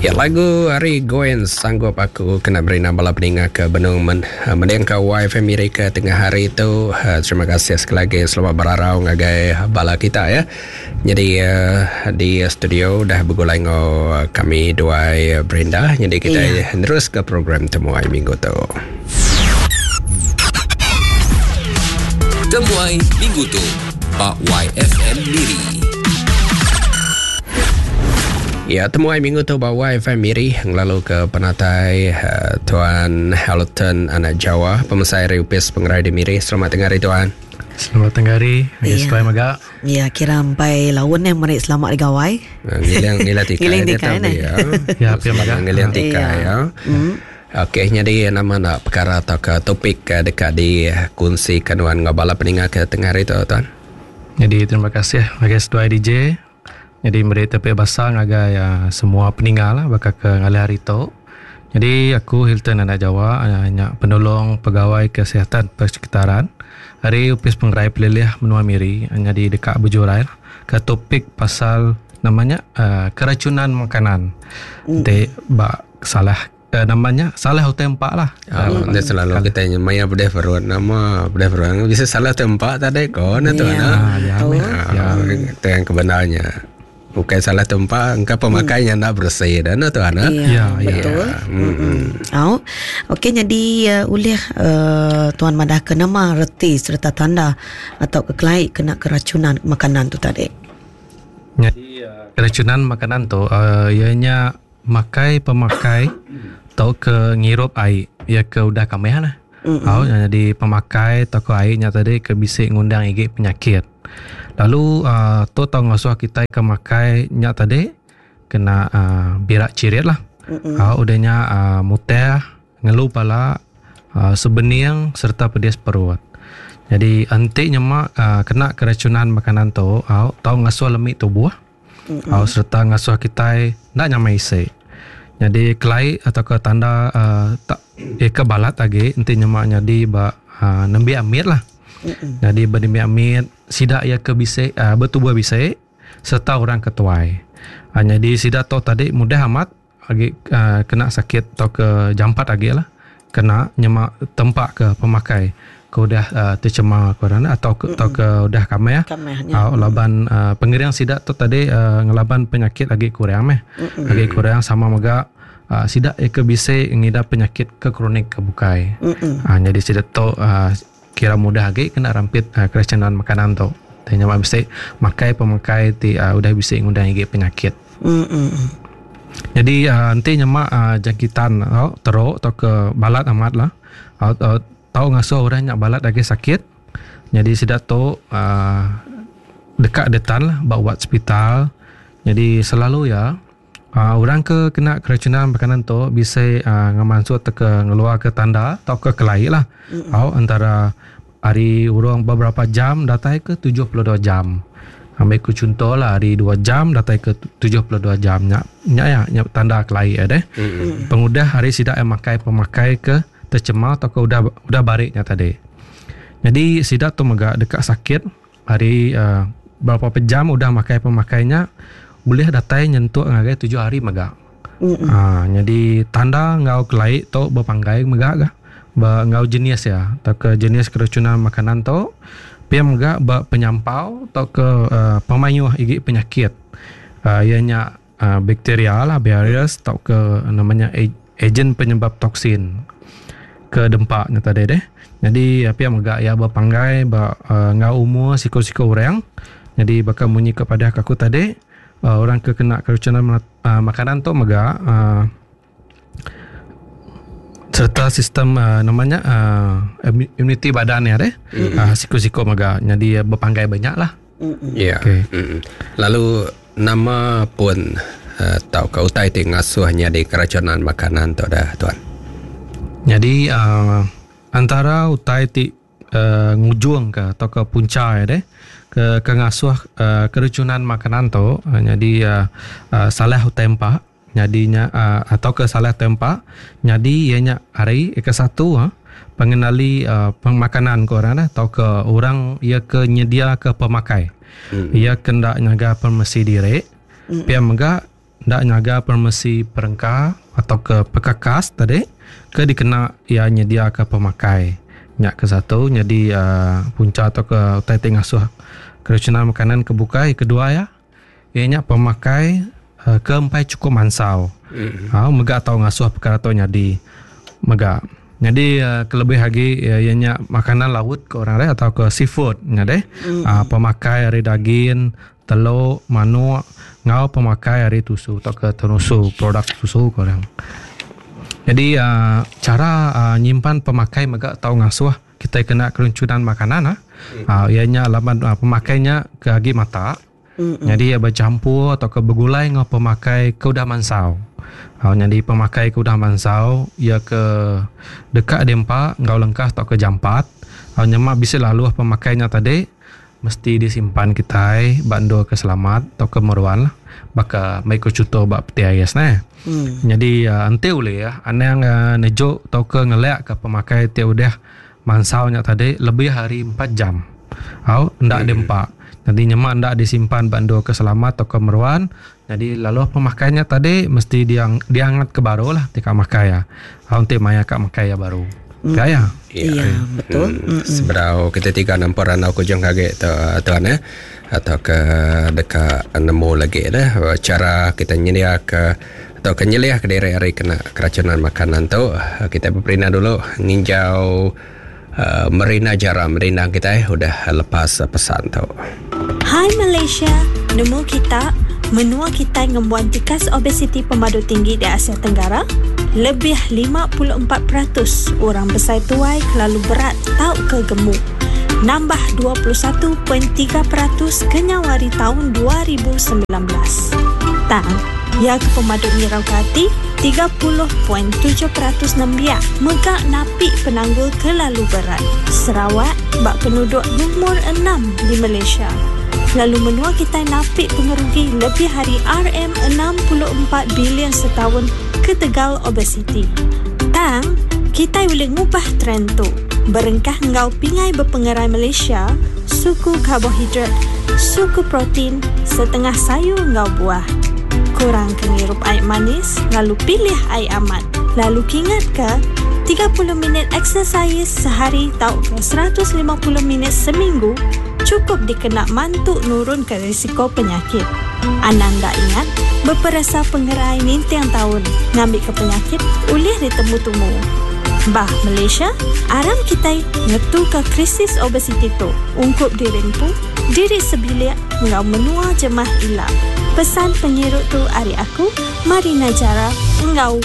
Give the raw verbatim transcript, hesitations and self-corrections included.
Ya, lagu ari Gwen Sanggup Aku kena beri nama bala peninga ke benung men, mendingka Y F M Miri ke tengah hari tu. Terima kasih sekali lagi, selamat berarau ngagai bala kita ya. Jadi uh, di studio dah begulai ngau kami duai Brenda. Jadi kita ya. Terus ke program Temuai Minggu tu. Temuai Minggu tu Pak Y F M Miri. Ya, temuai minggu tu bawa Y F M Miri ngelalu ke penatai uh, Tuan Hilton Anak Jawa, pemesai Riupis Pengerai di Miri. Selamat tengah hari Tuan. Selamat tengah hari. Ya, yeah. Maga. Ya, kira sampai laun yang merik selamat di gawai. Ngilang ngilang tikai. Ngilang tikai ni. Ya, ya, pia maga. Ngilang tikai ya. Mm. Okey, jadi nama nak perkara atau ke topik dekat di kongsikan dengan bala peninga ke tengah hari tu Tuan. Jadi terima kasih bagi seduai D J. Jadi meri tepi basah ngagai uh, semua peninga lah bakal ke ngalih hari tu. Jadi aku Hilton Anak Jawa, uh, penolong pegawai kesihatan persekitaran hari Upis Pengerai Pelilih Menua Miri, jadi dekat Bujurai lah, ke topik pasal namanya uh, keracunan makanan. Mm. Jadi bak salah uh, namanya salah tempat lah. Oh, uh, selalu kita maya bedeh perut nama bedeh perut bisa salah tempat tadi kau na tu na. Ya, itu yang kebenarnya. Bukan salah tempat, engkau pemakainya hmm. nak bersih dan tu ana. Ya, ya, betul. Hmm. Oh. Okey, jadi uh, ulih uh, tuan madah ke nama reti serta tanda atau kekelaik kena keracunan makanan tu tadi. Jadi uh, keracunan makanan tu uh, ianya makai pemakai atau ke ngirup air ya ke udah kameh lah. Mm-hmm. Oh, jadi pemakai atau ke airnya tadi ke bisik ngundang igi penyakit. Lalu uh, tu tau ngasuh kita ke makai nyak tadi kena uh, birak cirit lah. Mm-hmm. Uh, udahnya uh, muteh, ngeluh pala, uh, sebening serta pedis perut. Jadi antik nyemak uh, kena keracunan makanan tu, uh, tau ngasuh lemik tubuh. Mm-hmm. Uh, serta ngasuh kita nak nyamai isi. Jadi kelai atau ke tanda uh, tak eh, ke balat lagi enti nyemak jadi ba uh, nembi amit lah. Mm-mm. Jadi berdemi amit sidak ya ke bisik uh, bertubuh bisik serta orang ketuai. Uh, jadi sidak tu tadi mudah amat lagi uh, kena sakit atau ke jampat lagi lah. Kena nyemak tempat ke pemakai ke udah uh, tercemar ke orang atau ke, atau ke udah kameh ya. Uh, laban uh, pengiring sidak tu tadi uh, ngelaban penyakit lagi kurang meh. Lagi kurang sama mega uh, sidak ya ke bisik ngidap penyakit ke kronik ke bukai. Uh, jadi sidak tu uh, kira mudah lagi kena rampit uh, keracunan makanan tu. Tanya mak bisik makai pemakai ti uh, udah bisik ngundang lagi penyakit. Mm-mm. Jadi uh, nanti nyemak uh, jangkitan uh, teruk atau ke balat amat lah. Uh, uh, tahu ngasuh orang nyak balat lagi sakit. Jadi sidak tu uh, dekat detan lah bawa hospital. Jadi selalu ya uh, orang ke kena keracunan makanan tu bisa uh, ngemansut ke ngeluar ke tanda atau ke kelai lah. Mm-hmm. Uh, antara hari urang beberapa jam datai ke tujuh puluh dua jam. Ambil ku contoh lah hari dua jam datai ke tujuh puluh dua jam nyak nyak ya nyak tanda kelai ya deh. Mm-hmm. Pengudah hari sidak yang makai pemakai ke tercemar atau ke udah udah bariknya tadi. Jadi sidak tu mega dekat sakit hari uh, berapa jam udah makai pemakainya boleh datai nyentuh ngagai tujuh hari mega. Mm-hmm. Ha, jadi tanda ngau kelai tu berpanggai mega gah. Ba ngau jenis ya atau ke jenis keracunan makanan tu pia mega ba penyampau atau ke uh, pemayuh igi penyakit. Uh, ianya uh, bakteria lah virus atau ke namanya agen penyebab toksin ke dempaknya tadi deh. Jadi pia mega ya berpanggai ba uh, ngau umur siko-siko orang. Jadi bakal bunyi kepada aku tadi uh, orang ke kena keracunan uh, makanan tu mega uh, serta sistem uh, namanya uh, imuniti badan ya deh. Mm-hmm. Uh, siko-siko mega jadi berpanggai banyak lah. Ya. Yeah. Okay. Mm-hmm. Lalu nama pun uh, tau ke utai ti ngasuhnya di keracunan makanan tu dah tuan. Jadi uh, antara utai ti uh, ngujung ke atau ke punca ya deh ke ke ngasuh uh, keracunan makanan tu uh, jadi uh, uh, salah tempat jadinya uh, atau ke salah tempat jadi ianya hari ke satu uh, pengenali uh, pemakanan ke orang atau ke orang ia ke nyedia ke pemakai. Hmm. Ia kendak nyaga permesi diri. Hmm. Pia mega ndak nyaga permesi perengka atau ke pekakas tadi ke dikena ia nyedia ke pemakai. Nyak ke satu jadi uh, punca atau ke utai ti ngasuh keracunan makanan kebukai. Kedua ya ianya pemakai uh, ke empai cukup mansau. Mm. Ha, mega tau ngasuh perkara tu nyadi mega. Jadi uh, kelebih lagi uh, ianya makanan laut ke orang lain atau ke seafood nya deh. Mm. Uh, pemakai ari daging, telur, manuk, ngau pemakai ari tusu atau ke tenusu, produk susu ke orang. Jadi uh, cara uh, nyimpan pemakai mega tau ngasuh kita kena keracunan makanan ah. Mm. Uh, ianya laban uh, pemakainya ke agi mata. Mm-mm. Jadi ia bercampur atau ke bergulai ngau pemakai ke udah mansau. Uh, jadi pemakai ke udah mansau ia ke dekat dempa ngau lengkah atau ke jampat. Uh, nyemak bisa lalu pemakainya tadi mesti disimpan kita bando ke selamat atau ke meruan lah. Baka mai ko cuto bak P T I S nah. Hmm. Jadi uh, ente boleh ya anang uh, nejuk atau ke ngelak ke pemakai ti udah mansau nya tadi lebih hari empat jam. Au ndak hmm. dempa. Nanti nyemak ndak disimpan bando ke selamat atau ke meruan. Jadi lalu pemakaiannya tadi mesti diang, diangat ke baru lah tika makai ya. Au ente maya kak makai ya baru. Hmm. Gaya. Iya, ya, betul. Hmm. Seberau kita tiga nampak ranau kujung kaget tu tuan ya atau ke dekat nemu lagi dah cara kita nyedia ke atau ke nyeliah ke diri hari kena keracunan makanan tu kita berperina dulu nginjau uh, Marina Jara Marina kita eh udah lepas pesan tu. Hai Malaysia, nemu kita menua kita ngembuan tikas obesiti pemadu tinggi di Asia Tenggara. Lebih lima puluh empat peratus orang besar tuai kelalu berat tau ke gemuk. Nambah dua puluh satu perpuluhan tiga peratus kenyawari tahun dua ribu sembilan belas. Tang, ya ke pemadu ngirau ke hati, tiga puluh perpuluhan tujuh peratus nembiak megak napi penanggul kelalu berat. Sarawak bak penduduk nomor enam di Malaysia. Lalu menua kita napi pengerugi lebih hari R M enam puluh empat bilion setahun ke tegal obesiti. Tang, kita boleh ngubah trend tu. Berengkah ngau pingai berpengerai Malaysia, suku karbohidrat, suku protein, setengah sayur ngau buah. Kurang kengirup air manis, lalu pilih air amat. Lalu kingat ke, tiga puluh minit exercise sehari tau ke seratus lima puluh minit seminggu cukup dikena mantuk nurun ke risiko penyakit. Ananda ingat, berperasa pengerai nintiang tahun, ngambil ke penyakit, ulih ditemu-temu. Bah Malaysia, aram kita ngetu ke krisis obesiti tu. Ungkup diri empu, diri sebilik, ngau menua jemah ilak. Pesan penyirut tu ari aku, Marina Jara, ngau